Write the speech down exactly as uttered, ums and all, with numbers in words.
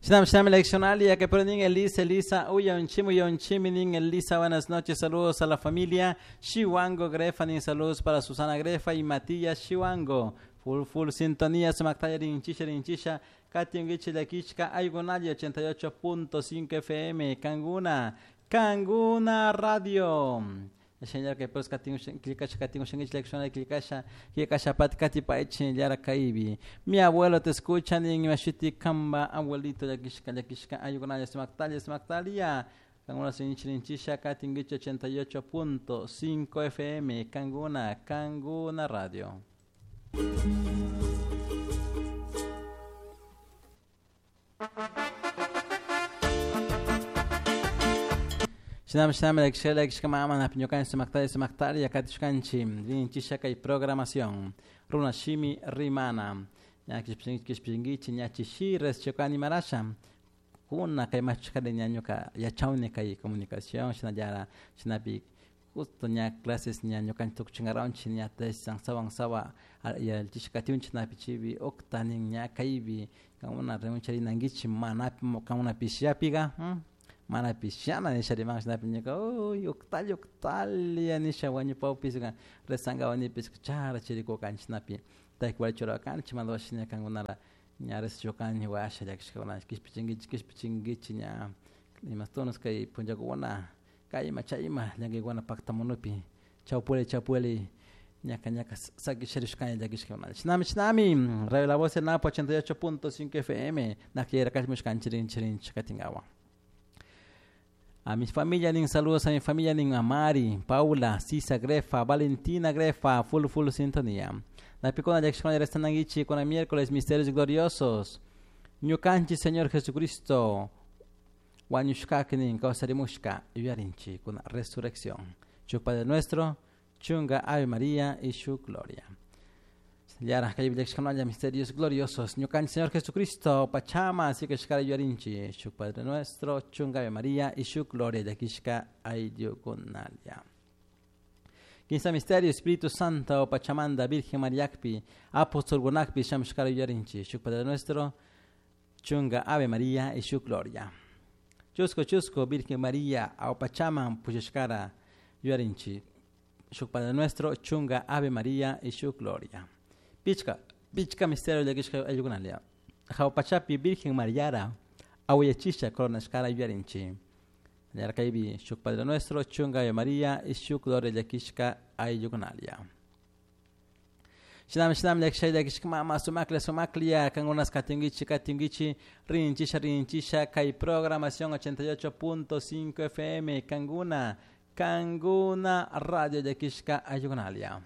Shinam shinam leccionalia que ponen Elisa, Elisa, uyonchim, uyonchim, Elisa, buenas noches, saludos a la familia Chihuango Grefa, nin saludos para Susana Grefa y Matías Chihuango. Full, full sintonía, sumaktaya rinchisha, rinchisha, katingichi lakichka, aygunali ochenta y ocho punto cinco F M, Canguna, Canguna Radio. Señor que pues mi abuelo te escucha ni mashiti kamba abuelito yakishka yakishka ayukunaya smaktalia smaktalia Canguna sinchisha katingichi ochenta y ocho punto cinco F M Canguna Canguna Radio. Shinam shinam lekshela kishkama napiñukan sumaktari sumaktari yakatishkanchi rinchisha kay programación runa shimi rimana ña kishpingichi ña chishi rechokani marasha kuna kay machkari ñañuka yachawni kay comunicación shinallara shinapi justo ña clases ñañukan tukchingaranchi ña tesan sawan sawa yalchishkatiunchi napi chibi octanin ña kaybi kamuna reuncharinankichi manapi kamuna pishiapiga mana pishana nisha riman shinapi ñuka uy uqtalla uqtalla nisha wañupaw pisqa rezanga wanipisqa chara chirikukanchik shinapi taykuwari churakanchik mandawashi ña kankunara ña rezachukani washa llakishkakuna kishpichinkichik kishpichinkichik ña imastunas kay punllakuna kayma chayma llankikuna paktamunupi chawpuli chawpuli ñaka ñaka sakisharishkani llakishkakuna shinami shinami Radio La Voz del Napo ochenta y ocho punto cinco F M nakiyarakamushkanchik rinchik rinchik katinkawan. A mi familia, nin saludos a mi familia, nin a Mari, Paula, Sisa Grefa, Valentina Grefa, full, full sintonía. La picona de acción de con el miércoles, misterios gloriosos. Ñukanchi, Señor Jesucristo, Wañushkaknin, Kausarimushka, Yuyarinchi, con la resurrección. Chu Padre nuestro, Chunga Ave María y su gloria. Yara, que hay misterios gloriosos. Ñukanchi, Señor Jesucristo, Pachama, así que shkara yuarinchi, Shuk Padre nuestro, Chunga Ave María y su gloria, Yakishka Ayugunalia. Quince misterio, Espíritu Santo, Pachamanda, Virgen Mariakpi, Apóstol Gunakpi, Shamshkara yuarinchi, Shuk Padre nuestro, Chunga Ave María y su gloria. Chusco, Chusco, Virgen María, Aupachama, Pushkara yuarinchi, Shuk Padre nuestro, Chunga Ave María y su gloria. Pichka, pichka misterio de Kishka Ayugunalia. Jaupachapi, Virgen Mariara, Auyachisha, Coronashkara Yuarinchi. Yarkaibi, Shuk Padre Nuestro, Chunga Ave María, y Shuk Gloria de Kishka Ayugunalia. Shinam, shinam, lekshay, lekshka, mama, sumaklia, sumaklia, kangunas, katingichi, katingichi, rinchisha, rinchisha, kai programación ochenta y ocho punto cinco F M, Canguna, Canguna, Radio de Kishka Ayugunalia.